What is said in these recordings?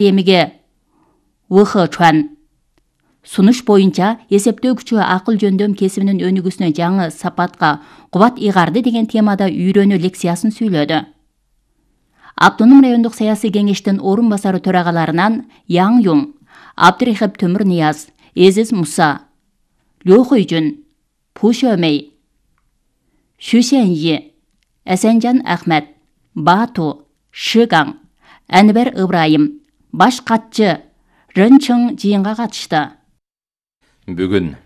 эмиге ВХ сунуш боюнча эсептөө күчү акыл жөндөм кесибинин өнүгүүсүнө жаңы сапатка кубат ыйгарды деген темада үйрөнүү лекциясын сүйлөдү. Автоном райондук саясий кеңештин орун басары төрагаларынан Яң Юң, Абдырахип Төмүрнияз, Эзиз Муса, Лё Хойжун, Пу Шөмей, Шу Сяньи, Асанжан Ахмет, Бату, Шыгаң, Анвер Ыбрайым, баш катчы Рын Чың жыйынга катышты. Бүгүн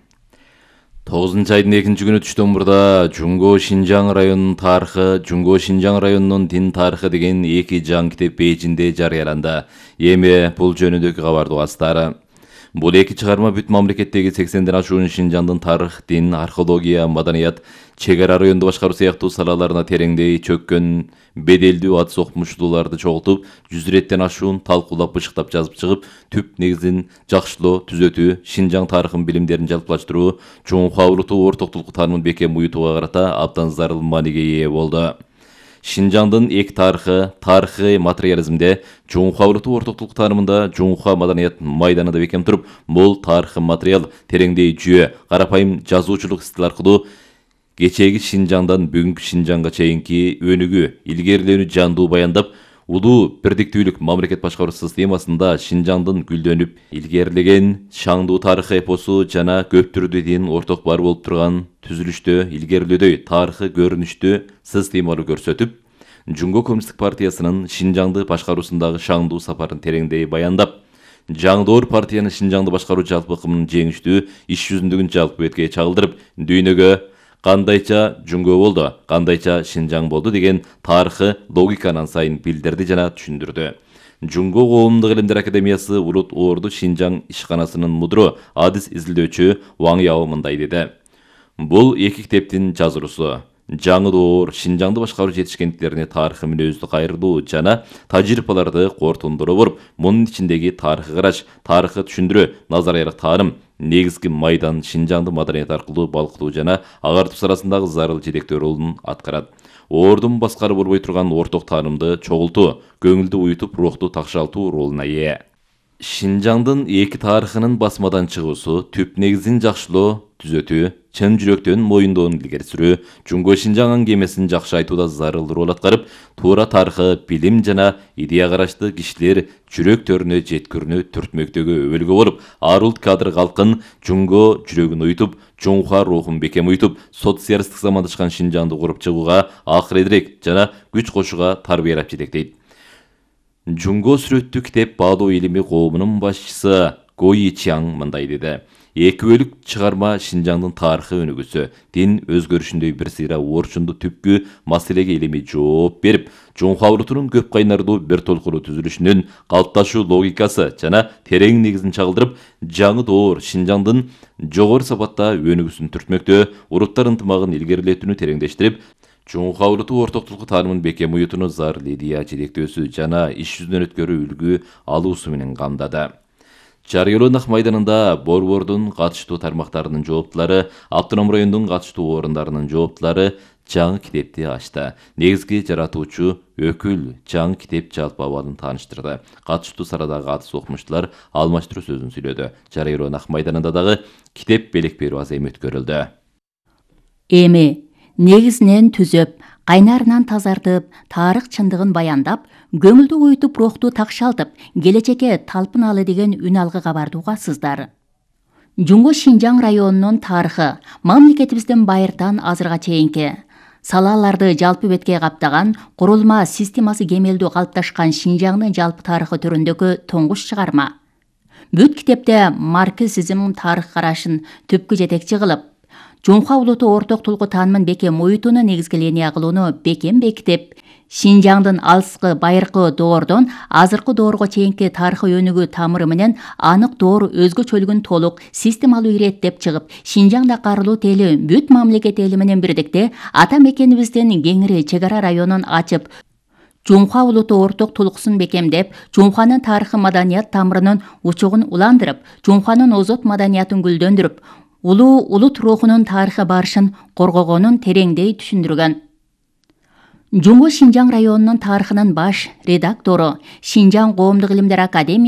9-айдын 2-күнү түштөн мурда Жунго Шинжаң районунун тарыхы, Жунго Шинжаң районунун дин тарыхы деген 2 жаңы китеп Бейжинде жарыяланды. Эми бул жөнүндөгү кабарды угасыздар. Бул 2 чыгарма бүт мамлекеттеги 80ден ашуун Шинжаңдын тарых, дин, археология, маданият, чек ара районду башкаруу сыяктуу салаларына тереңдей чөккөн беделдүү атыс окумуштууларды чогултуп, 100 реттен ашуун талкуулап бышыктап жазып чыгып, түп негизин жакшылоо, түзөтүү, Шинжаң тарыхын билимдерин жалпылаштыруу, Чоңхуа улуту ортоктулук таанымын бекем уютууга карата абдан зарыл мааниге ээ болду. Шинжаңдын эки тарыхы материализмде, Чоңхуа улуту ортоктулук таанымында, Чоңхуа маданият майданында бекем туруп, бул тарыхы материал тереңдей жүйө, карапайым жазуучулук стил аркылуу кечээги Шинжаңдан бүгүнкү Шинжаңга чейинки өнүгүү, илгерилөөнү жандуу баяндап, улуу бирдиктүүлүк мамлекет башкаруу системасында Шинжаңдын гүлдөнүп илгерилеген шаңдуу тарыхы эпосу жана көп түрдүү дин орток бар болуп турган түзүлүштө илгерилөөдөй тарыхы көрүнүштү системалуу көрсөтүп, Жунго коммунисттик партиясынын Шинжаңды башкаруусундагы шаңдуу сапарын тереңдей баяндап, жаңдоор партиянын Шинжаңды башкаруу жалпы ыкымынын жеңиштүү иш жүзүндөгүн жалпы бетке чагылдырып, дүйнөгө кандайча Жунго болду, кандайча Шинжаң болду деген тарыхы логиканын сайын билдирди жана түшүндүрдү. Жунго коомдук илимдер академиясы Улут Орду Шинжаң ишканасынын мудру, адис изилдөөчү Ваң Яо мындай деди. Бул 2 китептин жазуусу жаңы доор Шинжаңды башкаруу жетишкендиктерине тарыхы мүнөздү кайрылуу жана тажрыйбаларды корутундуруу болуп, мунун ичиндеги тарыхый караш, тарыхы түшүндүрүү, назариялык тааным, негизги майдан Шинжаңды маданият аркылуу балкытуу жана агартуу саласындагы зарыл жетектөө ролун аткарат. Ордун баскарып болбой турган орток таанымды чогултуу, көңүлдү уютуп, рухту такшалтуу ролуна ээ. Шинжаңдын 2 тарыхынын басмадан чыгуусу, түп негизин жакшылоо, түзөтүү, чын жүрөктөн моюндоону илгери сүрүү, Жунго Шинжаң аңгемесин жакшы айтууда зарыл роль аткарып, туура тарыхы, билим жана идея карашты кишилер жүрөктөрүнө жеткирүүнү түртмөктөгү өбөлгө болуп, ар улут кадр калкын Жунго жүрөгүн уютуп, Чоңхуа рухун бекем уютуп, социалисттик замандашкан Шинжаңды куруп чыгууга, акыредирээк жана күч кошууга тарбиялап жетектейт. Жунго сүрөттүү китеп баалоо илими коомунун башчысы Го Ичаң мындай деди. 2 бөлүк чыгарма Шинжаңдын тарыхы өнүгүүсү, дин өзгөрүшүндөй бир сыйра орчундуу түпкү маселеге илимий жооп берип, Чоңхуа улутунун көп кайнардуу бир толкуру түзүлүшүнүн калыпташуу логикасы жана терең негизин чагылдырып, жаңы доор Шинжаңдын жогору сапатта өнүгүүсүн түртмөктөө, улуттар ынтымагын илгерилетүүнү тереңдештирип, Чоңхуа улуту ортоктулук таанымын бекем уютууну зарыл идея жетектөөсү жана иш жүзүнөн өткөрүү үлгү алуусу менен камдады. Жарыялоо Нах майданында борбордун катыштуу тармактарынын жооптулары, автоном райондун катыштуу орундарынын жооптулары жаңы китепти ачты. Негизги жаратуучу өкүл жаңы китеп жалпы абалын тааныштырды. Катыштуу сарадагы атыс окумуштуулар алмаштыруу сөзүн сүйлөдү. Жарыялоо Нах майданында дагы китеп белек берүү азем өткөрүлдү. Эми негизинен түзөп, кайнарынан тазартып, тарых чындыгын баяндап, көңүлдү уютуп, рухту такшалтып, келечекке талпыналы деген үн алгы кабарды угасыздар. Жунго Шинжаң районунун тарыхы мамлекетибиздин байыртан азырга чейинки салаларды жалпы бетке каптаган, курулма системасы кемелдүү калыпташкан Шинжаңдын жалпы тарыхы түрүндөгү тоңгуш чыгарма. Бүт китепте марксизм тарых карашын түпкү жетекчи кылып, Чоңхуа улуту ортоктулугу таанымын бекем уютууну негизги линия кылууну бекем бекитип, Шинжаңдын алыскы байыркы доордон азыркы доорго чейинки тарыхый өнүгүү тамыры менен анык доор өзгөчөлүгүн толук системалуу иреттеп чыгып, Шинжаңда карылуу эли бүт мамлекет эли менен бирдикте ата мекенибиздин кеңири чек ара районун ачып, Чоңхуа улуту ортоктулуксун бекемдеп, Чоңхуанын тарыхы маданият тамырынын учугун уландырып, Чоңхуанын озот маданиятын гүлдөндүрүп, улуу улут рухунун тарыхы барышын коргогонун тереңдей түшүндүргөн. Жунго Шинжаң районунун тарыхынын баш редактору, Шинжаң коомдук илимдер академиясы